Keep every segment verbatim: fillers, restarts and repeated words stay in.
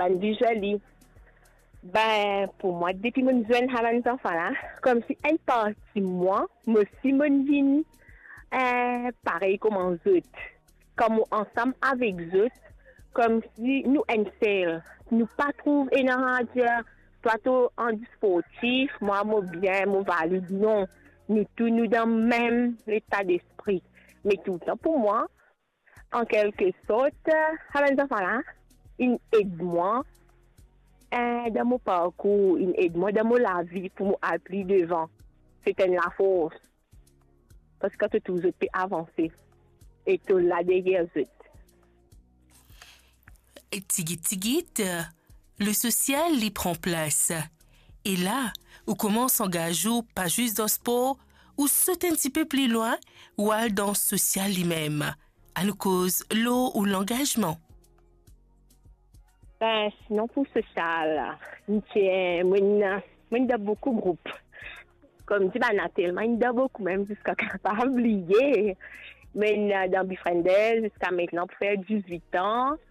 bann visually. Ben, pou mwa, depi mo'nn zwenn sa bann zanfan la, koumsi enn parti mwa, mo osi mo'nn vinn, eh, parey kouma zot. Kan mo ansam avek zot, koumsi nou enn sel. Nou pa trouv ena dir, twa to andi sportif, mwa mo bien, mo valid. Non, nou tou nou dan mem leta despri. Me toultan pou mwa, an kelke sort, sa bann zanfan la, inn ed mwa, eh, dan mo parkour, inn ed mwa dan mo lavi pou mo al pli devan. Se enn lafors. Parski to trouv zot pe avanse. E to la deryer zot. Tigit tigit, le sosial li pran plas. E la, ou koumans angaz ou pa zis dan spor, ou sot enn tipe pli lwin, ou al dan sosial limem. Anou koz lor ou langazman. Ben, sinon pou sosial, mo ti, mo'nn, mo'nn dan boukou group. Koumsi bann la telman inn dan boukou, mem ziska kapav bliye. Mo'nn dan Befrienders ziska aster pou fer dizwit an.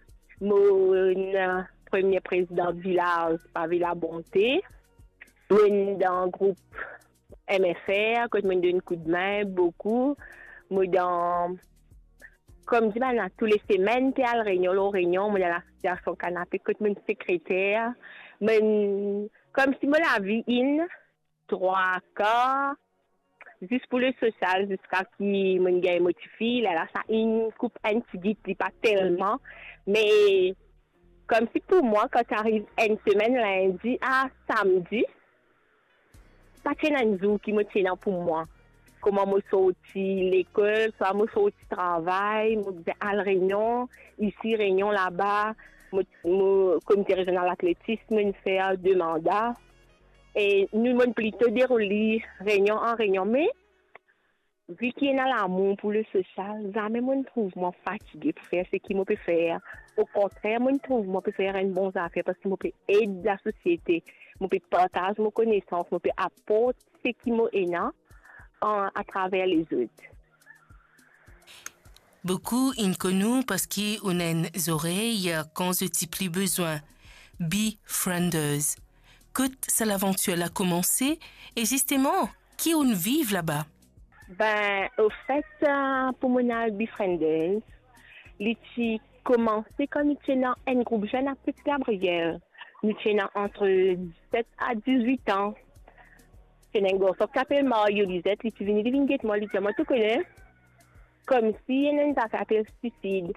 Mo'nn premie prezidan vilaz, Pave Labonte. Mo'nn dan group M F R, kot mo'nn donn koudme boukou. Mo dan, koumsi bann la tou le semenn pe al reynion lor reynion, mo dan lasosiasion Kanape kot mo'nn sekreter. Mo'nn, koumsi mo lavi inn trwa kar zis pou le sosial, ziska ki mo'nn gagn mo tifi, lerla sa inn koup enn tigit, li pa telman. Me koumsi pou mwa, kan ti ariv enn semenn, lindi a samdi, pa ti ena enn zour ki mo ti ena pou mwa. Kouma mo sorti lekol, swa mo sorti travay, mo bizin al reynion, isi reynion laba, mo, mo, komite rezional atletis, mo'nn fer de manda. E nou, mo'nn plito deroul li reynion an reynion, me vi ki ena lamour pou le sosial, zame mo'nn trouv mwa fatige pou fer seki mo pe fer. Okontrer, mo'nn trouv mo pe fer enn bon zafer parski mo pe ed lasosiete, mo pe partaz mo konesans, mo pe aport seki mo ena an, atraver lezot. Boukou inn konn ou parski ou ena enn zorey kan zot ti pli bizwin. Befrienders. Kot sa lavantir la koumanse e zisteman, ki ou'nn viv laba? Ben, ofet, eh, pou mo'nn al Befrienders, li ti koumanse kan nou ti ena enn group zenn a Petit Gabriel. Nou ti ena antre diset a dizwit an. Ti ena enn garson ki apel Mario Lizet, li ti vini, li vinn get mwa, li dir mwa, to kone, koumsi ena enn zafer apel suisid.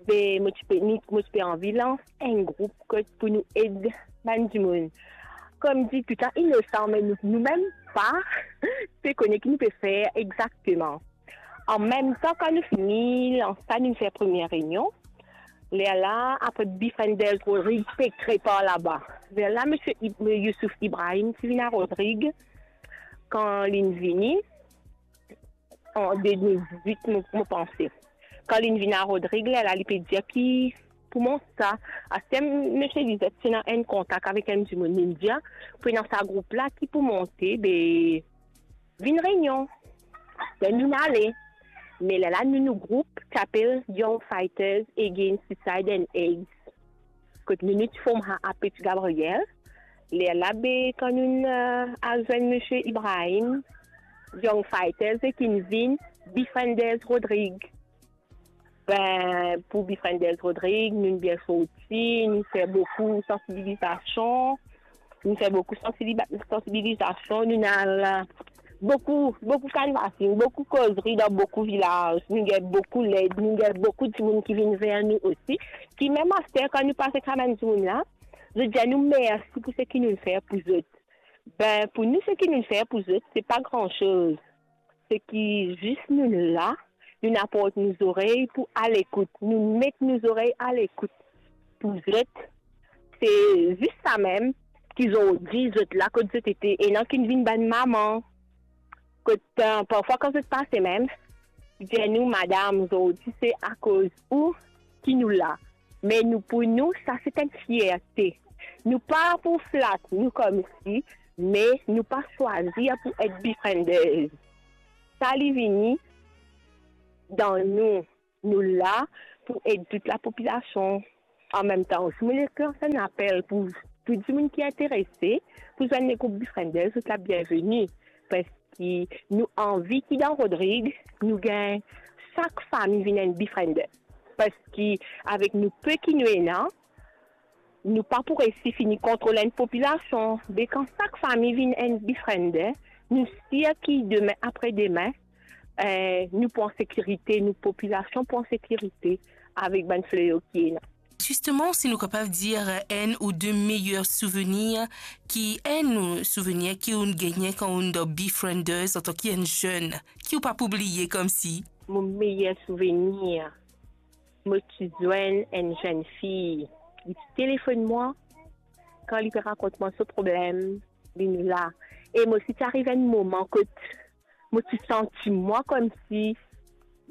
Be, mo ti pe, mo ti pe anvi lans enn group kot pou nou ed bann dimoun. Koumsi toultan inosan, me nou, nou mem pa pe kone ki nou pe fer exakteman. An mem tan, kan nou fini lans sa, nou fer premie reynion. Lerla, apre Befrienders Rodrig pe kre par laba. Lerla, misie Ib-, Youssouf Ibrahim ti vinn a Rodrig, kan li'nn vini, an de mil dizwit, mo, mo panse. Kan li'nn vinn a Rodrig, lerla li pe dir ki pou mont sa. Aster misie Lizet ti ena enn kontak avek enn dimoun, li'nn dir, pou ena sa group la ki pou monte, be, vinn reynion. Be, nou ale. Me lerla, nou, nou group ti apel Young Fighters Against Suicide and AIDS. Kot nou, nou ti form sa a Petit Gabriel. Lerla, be, kan nou, eh, al zwenn misie Ibrahim, Young Fighters, e ki'nn vinn Befrienders Rodrig. Ben, pou Befrienders Rodrig, nou bien sorti, nou fer boukou sansibilizasion, nou fer boukou sansiliba-, sansibilizasion, nou al boukou, boukou canvassing, boukou kozri dan boukou vilaz, nou gagn boukou led, nou gagn boukou dimoun ki vinn ver nou osi, ki mem aster kan nou pase kabann dimoun la, zot dir nou mersi pou seki nou fer pou zot. Ben, pou nou, seki nou fer pou zot, se pa gran soz. Seki zis nou la, nou aport nou zorey pou alekout. Nou met nou zorey alekout pou zot. Se zis sa mem ki zordi zot la kot zot ete. Ena ki'nn vinn bann mama. Kot, eh, parfwa kan zot pase mem, dir nou, madam, zordi se akoz ou ki nou la. Me nou, pou nou, sa se enn fierte. Nou pa pou flat nou koumsi, me nou pa swazir pou et Befrienders. Sa li vini dan nou. Nou la pou ed tout lapopilasion. An mem tan osi, mo le lans enn apel pou tou dimoun ki interese pou zwenn legroup Befrienders, zot la bienveni. Parski nou anvi ki dan Rodrig, nou gagn sak fami vinn enn Befriender. Parski avek nou pe ki nou ena, nou pa pou resi fini kontrol enn popilasion. Be kan sak fami vinn enn Befriender, nou sir ki demin, apre demin, eh, nou pou an sekirite, nou popilasion pou an sekirite avek bann fleyo ki ena. Zisteman, si nou kapav dir enn ou de meyer souvenir, ki enn ou souvenir ki ou'nn gagne kan ou'nn dan Befrienders antan ki enn zenn, ki ou pa pou bliye koumsi? Mo meyer souvenir, mo ti zwenn enn zenn fi, li ti telefonn mwa, kan li pe rakont mwa so problem, li la. E mo osi ti ariv enn moman kot mo ti santi mwa koumsi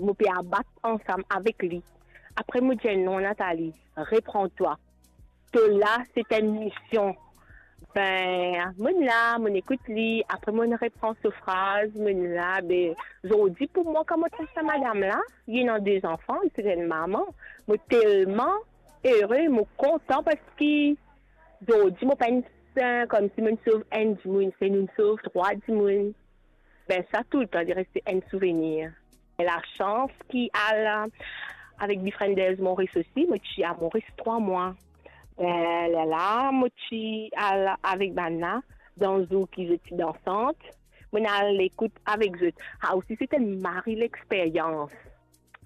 mo pe abat ansam avek li. Apre mo dir, "Non, Nathalie, repran twa. To la, se enn mision." Be, mo'nn la, mo'nn ekout li, apre mo'nn repran so fraz, mo'nn la, be, zordi pou mwa, kan mo trouv sa madam la, li ena de zanfan, li se enn mama, mo telman ere, mo kontan, parski zordi mo pa enn, koumsi mo'nn sov enn dimoun, se nou'nn sov trwa dimoun. Be, sa toultan li reste enn souvenir. Lasans ki al avek Befrienders Moris osi, mo ti a Moris trwa mwa. Be, lerla mo ti al avek bann la, dan zour ki zot ti dansant, mo'nn al ekout avek zot. Sa osi se enn mari lexperyans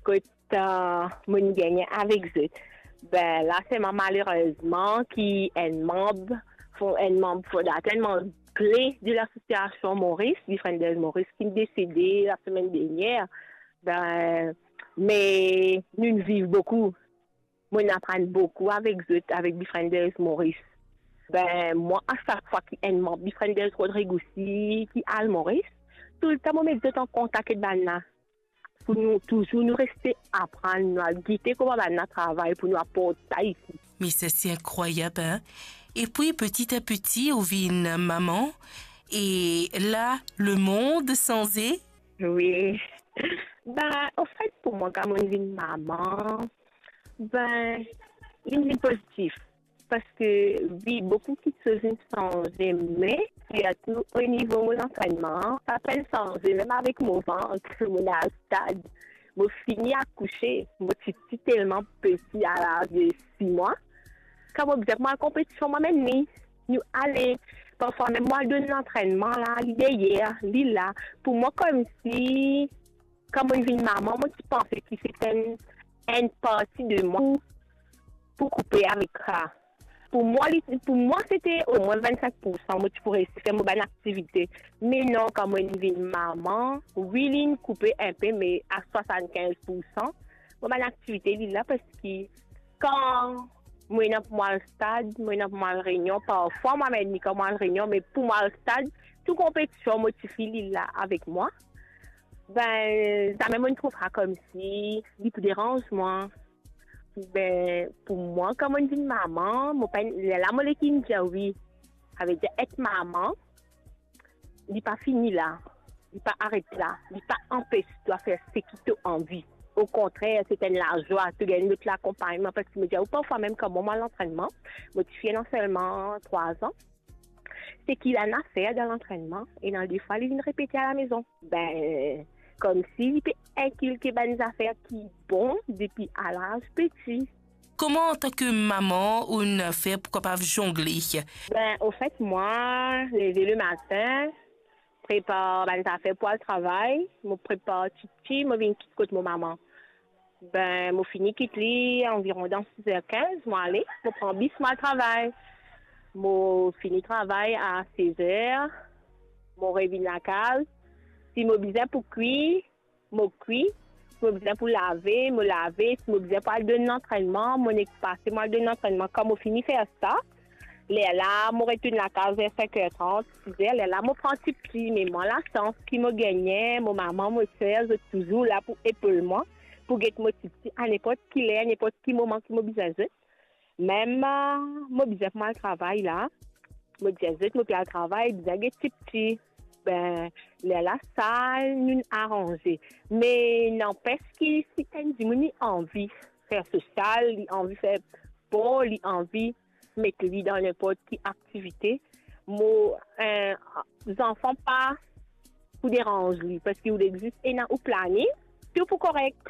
kot, eh, mo'nn gagne avek zot. Be, la selman malerezman ki enn manb, fo-, enn manb fondater, enn manb kle de lasosiasion Moris, Befrienders Moris, ki desede lasemenn dernier. Be, me nou'nn viv boukou. Mo'nn aprann boukou avek zot, avek Befrienders Moris. Be, mwa, a sak fwa ki enn manb Befrienders Rodrig osi ki al Moris, toultan mo met zot an kontak ek bann la. Pou nou touzour nou reste aprann, nou al gete kouma bann la travay pou nou aport sa isi. Me sa se inkrwayab, hein? Epi, petit à petit, ou vinn mama, e la, lemond sanze? Wi. Be, anfet, pou mwa, kan mo'nn vinn mama, be, li vinn pozitif. Parski, wi, boukou kiksoz inn sanze, me sirtou o nivo mo lantrennman, sa pa'nn sanze, mem avek mo vant, mo'nn al stad, mo fini akouse, mo ti, ti telman peti, a laz de sis mwa. Kan mo bizin pou al konpetision, mwa mem li, nou ale. Parfwa mem mo al donn lantrennman la, li deryer, li la. Pou mwa, koumsi, kan mo'nn vinn mama, mo ti panse ki se enn, enn parti de mwa pou koupe avek sa. Pou mwa, li, pou mwa, se ti omwin vinn-sink pou san mo ti pou resi fer mo bann aktivite. Me non, kan mo'nn vinn mama, wi, li'nn koupe inpe, me a swasann-kinz pou san, mo bann aktivite, li la, parski kan mo ena pou mo al stad, mo ena pou mo al reynion, parfwa mo amenn li kan mo al reynion, me pou mo al stad, tou konpetision, mo tifi, li la avek mwa. Be, zame mo'nn trouv sa koumsi li pou deranz mwa. Be, pou mwa, kan mo'nn vinn mama, mo pa, lerla mo le ki'nn dir wi. Savedir, et mama, li pa fini la, li pa aret la, li pa anpes twa fer seki to anvi. Okontrer, se enn lazwa, to gagn lot lakonpagnman, parski mo dir ou, parfwa mem kan mo al lantrennman, mo tifi ena selman trwa an, seki la'nn a fer dan lantrennman, ena defwa li vinn repete alamezon. Be, koumsi li pe inkilke bann zafer ki bon depi a laz peti. Kouma, antan ki mama, ou'nn fer pou kapav zongle? Be, anfet, mwa, leve lematin, prepar bann zafer pou al travay, mo prepar tipti, mo vinn kit kot mo mama. Be, mo fini kit li anviron dan sis er kinz, mo ale, mo pran bis, mo al travay. Mo fini travay a sez er, mo revinn lakaz. Si mo bizin pou kwi, mo kwi. Si mo bizin pou lave, mo lave. Si mo bizin pou al donn lantrennman, mo nek pase, mo al donn lantrennman. Kan mo fini fer sa, lerla mo retourn lakaz ver sink er trant, sis er, lerla mo pran tipti. Me mwa, lasans ki mo gagne, mo mama, mo ser, zot touzour la pou epol mwa, pou get mo tipti a ninport ki ler, ninport ki moman ki mo bizin zot. Mem, ah, mo bizin pou mo al travay la, mo dir zot mo pe al travay, bizin get tipti. Be, lerla sa nou'nn aranze. Me nanpes ki si enn dimoun li anvi fer sosial, li anvi fer spor, li anvi met li dan ninport ki aktivite, mo, eh, zanfan pa pou deranz li, parski ou exist ena ou planing, tou pou korek.